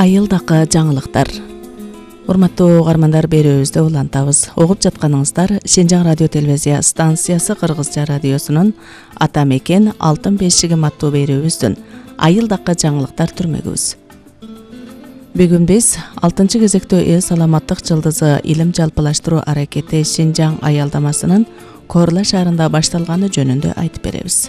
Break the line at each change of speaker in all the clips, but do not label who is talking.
Айылдакы жаңылыктар. Урматтуу угармандар, берүүбүздө улантабыз. Угуп жатканыңыздар Шенжаң радио телевизия станциясы Кыргызча радиосунун Ата мекен алтын бешигим аттуу берүүбүздүн Айылдакы жаңылыктар түрмөгүбүз. Бүгүн биз 6 кезектөө эл саламаттык жылдызы илим жалпылаштыруу аракети Шенжаң аялдамасынын Корла шаарында башталганы жөнүндө айтып беребиз.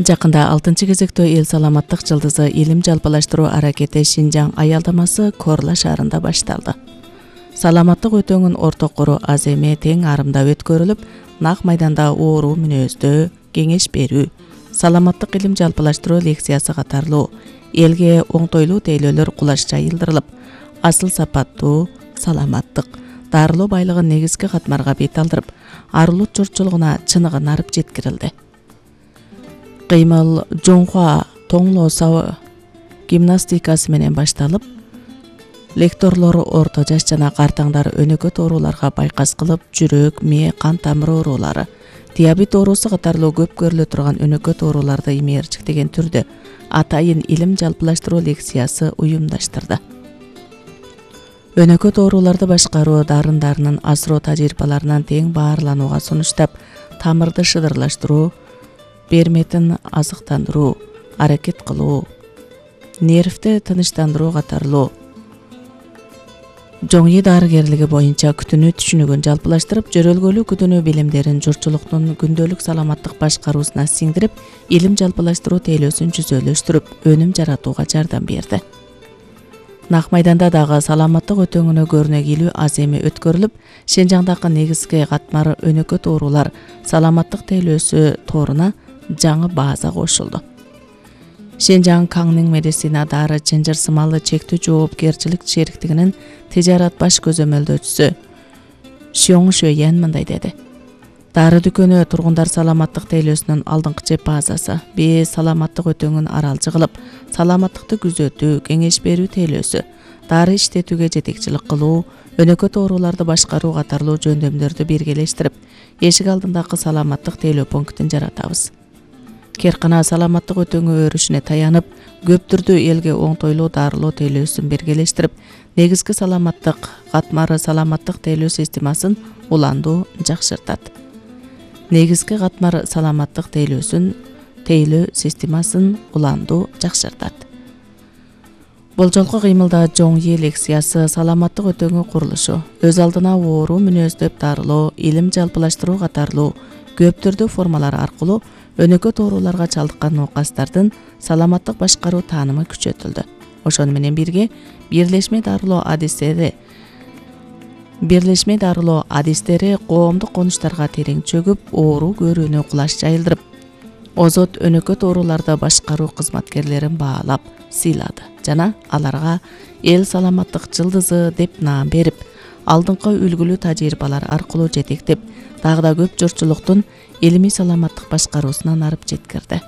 Жакында 6 кезектөө эл саламаттык жылдызы илим жалпылаштыруу аракети Шенжаң аялдамасы Корла шаарында башталды. Саламаттык өтөңүн ортокору аз эме тең арымдап өткөрүлүп, нак майданда оору мүнөздөө кеңеш берүү, саламаттык илим жалпылаштыруу лекциясы катарлуу элге оңтойлуу тейлөөлөр кулаш жайылдырылып, асыл сапаттуу саламаттык, дарылоо байлыгын негизги катмарга бет алдырып, арулут журтчулугуна чыныгын арып жеткирилди. Кыймыл жоңхуа тоңлоо гимнастикасы менен башталып, лекторлор орто жаш жана картаңдар өнөкөт ооруларга байкас кылып, жүрөк, мээ, кан тамыр оорулары, диабет оорусу катарлуу көп көрүлө турган өнөкөт ооруларды имээрчиктеген түрдө атайын илим жалпылаштыруу лекциясы уюмдаштырды. Өнөкөт ооруларды башкаруу дарындарынын асыроо тажрыйбаларынан тең баарланууга сунуштап, тамырды шыдырлаштыруу, берметин азыктандыруу, аракет кылуу, нервти тынычтандыруу катарлуу жоңи дарыгерлиги боюнча күтүнүү түшүнүгүн жалпылаштырып, жөрөлгөлүү күтүнүү билимдерин журтчулуктун күндөлүк саламаттык башкаруусуна сиңдирип, илим жалпылаштыруу тейлөөсүн жүзөлөштүрүп, өнүм жаратууга жардам берди. Нак майданда дагы саламаттык өтөңүнө көрүнөк илүү аз эме өткөрүлүп, Шенжаңдагы негизги катмар өнөкөт оорулар саламаттык тейлөөсү торуна жаңы база кошулду. Шенжаң Каңның медицина дары чынжыр сымалы чектүү жоопкерчилик шериктигинин тижарат баш көзөмөлдөөчүсү Шоң Шөйен мындай деди. Дары дүкөнү тургундар саламаттык тейлөөсүнүн алдыңкычы базасы, биз саламаттык өтөңүн аралчы кылып, саламаттыкты күзөтүү, кеңеш берүү тейлөөсү, дары иштетүүгө жетекчилик кылуу, өнөкөт ооруларды башкаруу катарлуу жөндөмдөрдү биргелештирип, эшик алдындагы саламаттык тейлөө пунктин жаратабыз. Керкана саламаттык өтөңү өрүшүнө таянып, көп түрдүү элге оңтойлуу дарылоо тейлөөсүн биргелештирип, негизги саламаттык катмары саламаттык тейлөө системасын уландуу жакшыртат. Негизги катмар саламаттык тейлөө системасын уландуу жакшыртат. Бул жолку кыймылда жоңи лекциясы саламаттык өтөңү курулушу, өз алдына оору мүнөздөп дарылоо, илим жалпылаштыруу катарлуу көп түрдүү формалар аркылуу өнөкөт ооруларга чалдыккан оокастардын саламаттык башкаруу таанымы күчөтүлдү. Ошону менен бирге бирлешме дарылоо адистери коомдук конуштарга терең чөгүп, оору көрүүнү кулаш жайылдырып, озот өнөкөт ооруларды башкаруу кызматкерлерин баалап, сыйлады жана аларга эл саламаттык жылдызы деп наам берип, алдыңкы үлгүлүү тажрыйбалар аркылуу жетектеп, дагы да көп журтчулуктун илимий саламаттык башкаруусуна арып жеткирди.